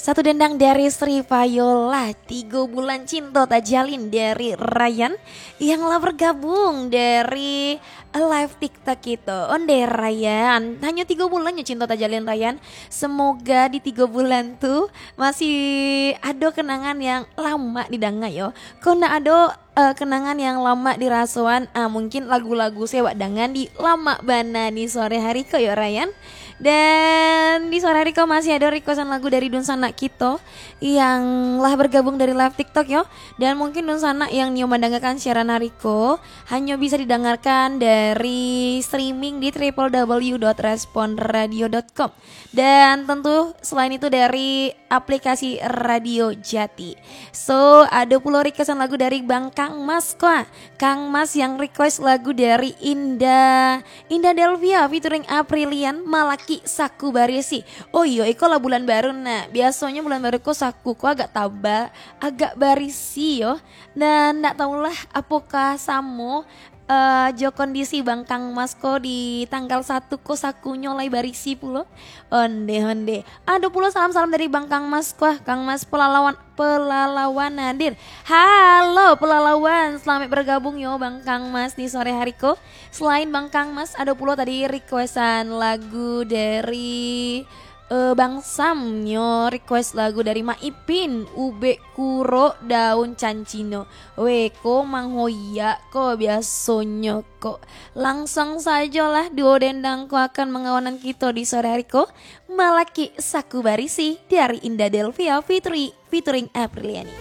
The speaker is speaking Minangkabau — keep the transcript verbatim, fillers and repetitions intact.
Satu dendang dari Sri Viola, Tigo Bulan Cinto Tajalin dari Ryan, yang lah bergabung dari live TikTok itu. Onde Ryan, hanyo tigo bulan nyo cinto tajalin Ryan. Semoga di tigo bulan tu masih ado kenangan yang lama didanga yo. Kok nak ado eh, kenangan yang lama dirasoan, ah, mungkin lagu-lagu sewak dangan di lama bana di sore hari ko yo Ryan. Dan di sore hari ko masih ado requestan lagu dari dunsanak kito yang lah bergabung dari live TikTok yo. Dan mungkin dunsanak yang nio mandangakan siaran hari ko hanyo bisa didangarkan dari streaming di triple w dot respon radio dot com. Dan tentu selain itu dari aplikasi Radio Jati. So, ado pulo requestan lagu dari Bang Kang Mas ko. Kang Mas yang request lagu dari Indah, Indah Delvia featuring Aprilian, Malaki Saku Barisi. Oh iyo, iko lah bulan baru nah. Biasonyo bulan baru ko saku ko agak tabal, agak barisi yo. Dan ndak tahulah apokah samo eh, jo kondisi Bang Kang Mas ko di tanggal satu ko sakunyo lai barisi pulo. Onde, onde. Ado pulo salam-salam dari Bang Kang Mas ko. Kang Mas Pelalawan, Pelalawan hadir. Halo Pelalawan, selamat bergabung yo Bang Kang Mas di sore hari ko. Selain Bang Kang Mas, ado pulo tadi requestan lagu dari eh, Bang Sam nyo request lagu dari Mak Ipin, Ubek Kuro Daun Cancino. Weh, ko manghoyak ko biasonyo ko. Langsung sajolah duo dendang ko akan mangawanan kito di sore hari ko. Malaki Saku Barisi dari Indah Delvia featuring, featuring Apriliani.